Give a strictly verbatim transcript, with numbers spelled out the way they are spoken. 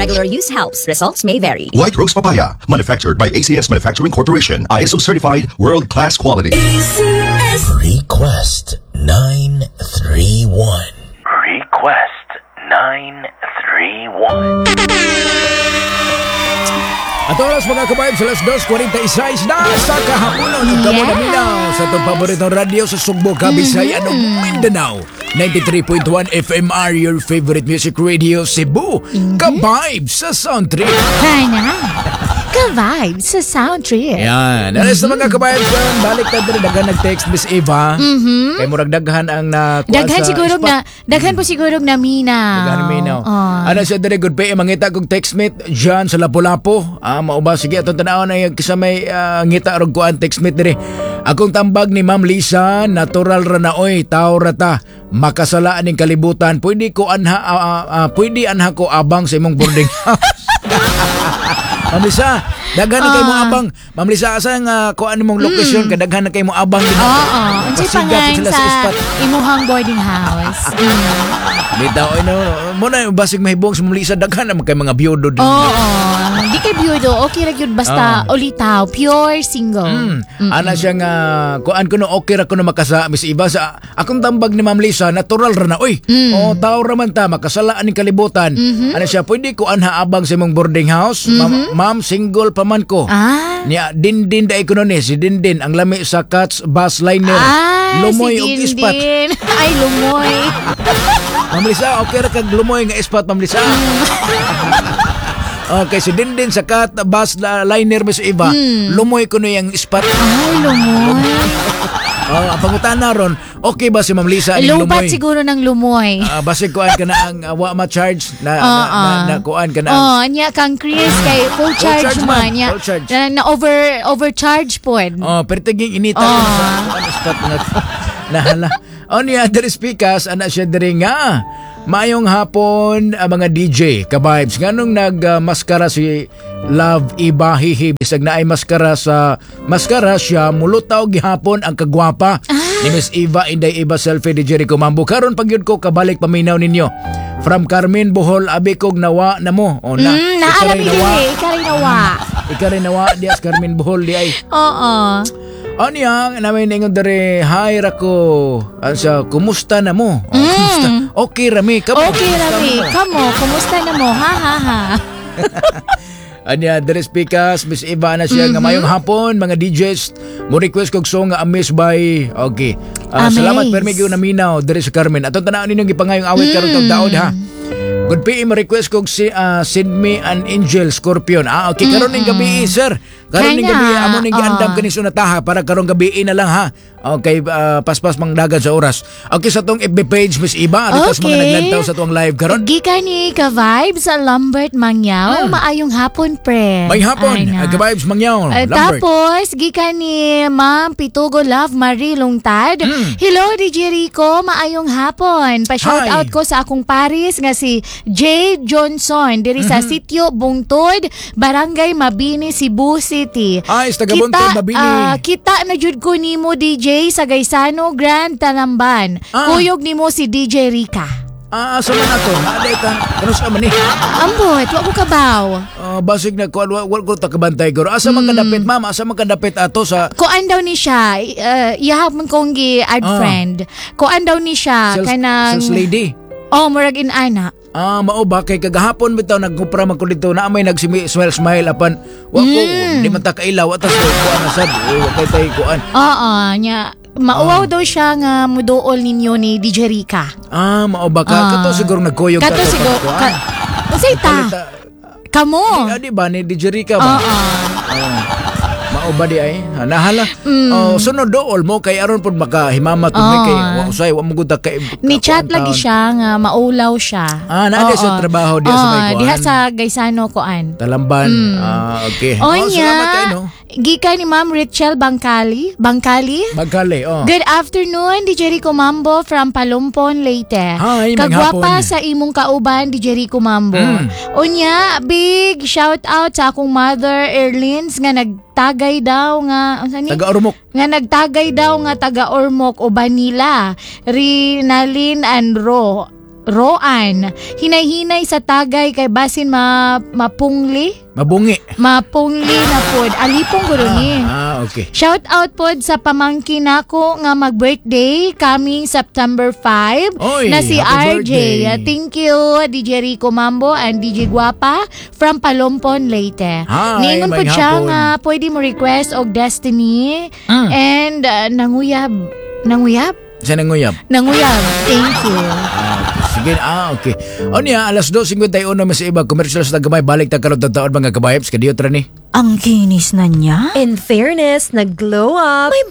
Regular use helps. Results may vary. White Rose Papaya, manufactured by A C S Manufacturing Corporation, I S O certified, world-class quality. Request nine three one. Request nine three one. At oras, mga kabayab, sa alas dos kuwarenta y sais na sa kahaponon. Yes. Kamo naminaw sa itong paboritong radyo sa Sugbo, Kabisayan, mm -hmm. Mindanao. ninety-three point one F M R, your favorite music radio, Cebu. Mm -hmm. Ka-vibe sa Sound Trip. Kana. Ka-vibe sa Sound Trip. Yan. Alas mm -hmm. mga kabayab, balik ta diri, daghan nag-text, Miss Eva. Mm -hmm. Kay murag daghan ang na Daghan siguro na daghan po siguro na minaw. Daghan minaw. Oh. Ano siya diri, good pay mangita kog text mate John sa Lapu-Lapu. Ah, mao ba, sige, atong tan-awon ay kisa may uh, ngita rog kuan text mate diri. Akong tambag ni Ma'am Lisa, natural ra na oy, tao ra ta. Makasala ning kalibutan. Pwede ko anha uh, uh, uh, pwede anha ko abang sa imong boarding house. Ma'am Lisa, daghan na kay mo ah. abang. Ma'am Lisa, asa nga kuan nimong lokasyon mm. kay daghan na kay mo abang din. Oo. Unsay pangalan sa, sa imuhang boarding house? Mm. Bitaw ay no, mo na basig mahibong sa Ma'am Lisa, daghan na kay mga biyudo din. Oo. Di kay biyudo, okay ra gyud basta oh. ulitaw, pure single. Mm. Mm Ana siya nga kuan kuno, okay ra kuno makasa, Miss Iba, sa akong tambag ni Ma'am Lisa, natural ra na oy. Mm. Oh, tao ra man ta, makasala aning kalibutan. Mm -hmm. Ana siya, pwede ko anha abang sa imong boarding house. Mm -hmm. Ma'am, single pa man ko. Ah. Niya, Dindin da ko ni si Dindin ang lami sa Cats Bus Liner. Ah, lumoy si og ispat. Ay, lumoy. Ma'am Lisa, okay ra kag lumoy nga ispat, Ma'am Lisa. Okay, si Dindin sa Cat Bus Liner, Miss Eva, mm. lumoy ko yung ispat. Ay, lumoy. Oh, ang pangutana ron, okay ba si Ma'am Lisa aning Lupat lumoy? Siguro ng lumoy. Ah, basig kuan ka na ang uh, wa ma-charge na, na, na, na, kuan ka na ang Oh, nya kang Chris kay full charge, charge man, man nya. Full charge. Na, na over overcharge pod. Oh, pero tiging inita Oh. oh. sa kuan spot nga nahala. Oh, niya diri speakers ana siya diri nga. Maayong hapon ang mga D J ka-vibes. Nganong nag uh, maskara si Love Iba, hihi, bisag naay maskara sa maskara siya, mulutaw gihapon ang kagwapa ni Miss Eva. Inday Eva selfie ni Jericho Mambo. Karon pag yun ko kabalik paminaw ninyo. From Carmen, Bohol, abi kog nawa na mo. O na. Mm, naa Ikaw ra mi rin nawa. Diri, ikaw rin nawa. Ikaw rin nawa dias Carmen, Bohol di ay. Oo. Ano niya, namin ingon dere, hi rako. Ano siya, kumusta na mo? Oh, kumusta? Okay rami, kamo. Okay kumusta rami. mo? Kamo, kumusta na mo? Ha ha ha. Anya, dere speakers, Miss Eva na siya, Mm-hmm. nga mayong hapon, mga D Js, mo request kog song nga Amaze by, okay. Ah, Amaze. salamat permi gyud naminaw dere sa Carmen. Atong tan-awon ninyong gipangayong awit karon mm. daod ha. Good P M, request kog si ah, Send Me an Angel, Scorpion. Ah, okay, karon ning gabi, sir. Karon ning Kaya, gabi amo ning giandam ah. kani sunataha para karong gabi na lang ha. Okay, ah, paspas mangdagan sa oras. Okay, sa tong F B page, Miss Iba, okay, sa mga Okay. naglantaw sa tuang live karon. Gikan ni ka-vibes sa Lambert Mangyaw. Maayong hapon, pre. May hapon, Ay, na. uh, ka-vibes Mangyaw, Eh, Lambert. tapos, gikan ni Ma'am Pitugo Love Marie Lungtad. "Hello, D J Rico. Maayong hapon. Pa-shout Hi. out ko sa akong paris nga si Jay Johnson diri sa Sitio Bungtod, Barangay Mabini, Cebu City. Ay, sa taga Bungtod, Kita, Mabini. ah, kita na jud ko nimo, D J, sa Gaisano Grand Talamban. Ah. Kuyog nimo si D J Rica." Ah, asa man ato? Naaday ka. Kano sa man ni? Ambot, wa ko kabaw. Ah, basig na kuan wa wa ko ta kabantay guro. Asa man kadapit, ma'am? Asa man kadapit ato sa Kuan daw ni siya, uh, iyahapon kong gi add Ah. friend. Kuan daw ni siya sales, kanang sales lady? Oh, murag inana. Ah, mao ba kay kagahapon bitaw nagkupra man ko dito na may nagsimi smile smile apan wa ko Mm. di man ta kailaw atas ko kuan na sad. Eh, wa kay tay kuan. Oo, nya mauwaw daw siya nga muduol ninyo ni D J Rica. Ah, mao ba ka? Ah. Kato siguro nagkuyog Kato ta- siguro kuan. ka, unsay ta? Palita- Kamo. Ah, di ba ni D J Rica ba? Oo. Oh. Mao ba di ay? Ha, nahala. Oh, sunod dool mo kay aron pud makahimamat mm. Oo. kay wa usay wa mo gud ta kay Ni chat kuan lagi taon. siya nga maulaw siya. Ah, naa Oo. sa trabaho diha sa may Oo, kuan. diha sa Gaisano kuan. Talamban. Ah, okay. Oh, Onya, salamat kay no. Gikan ni Ma'am Richel Bangkali. Bangkali? Bagkali, oh. "Good afternoon, D J Rico Mambo from Palumpon, Leyte. Hi, Kagwapa maghapon. sa imong kauban, D J Rico Mambo. Mm. Unya, big shout out sa akong mother, Erlins, nga nagtagay daw nga, unsa ni? Taga Ormoc. Nga nagtagay daw nga taga Ormoc o Banila. Rinalin and Ro. Roan. Hinay-hinay sa tagay kay basin ma mapungli. Mabungi. Mapungli na pod. Alipong guro ni. Ah, okay. Shout out pod sa pamangkin nako nga mag-birthday coming September five Oy, na si happy R J. birthday. Uh, Thank you, D J Rico Mambo and D J Guapa from Palompon, Leyte. Hi, Niingon pod maayong siya hapon. nga pwede mo request og Destiny Mm. and uh, nanguyab. Nanguyab? Sa nanguyab. Nanguyab. Thank you. Ah, sige, ah, okay. O niya, alas dos singkwenta y uno mas iba, commercials na gamay, balik ta karon taon, mga kabayabs, kadiyo tra ni. Ang kinis na niya. In fairness, nag-glow up. May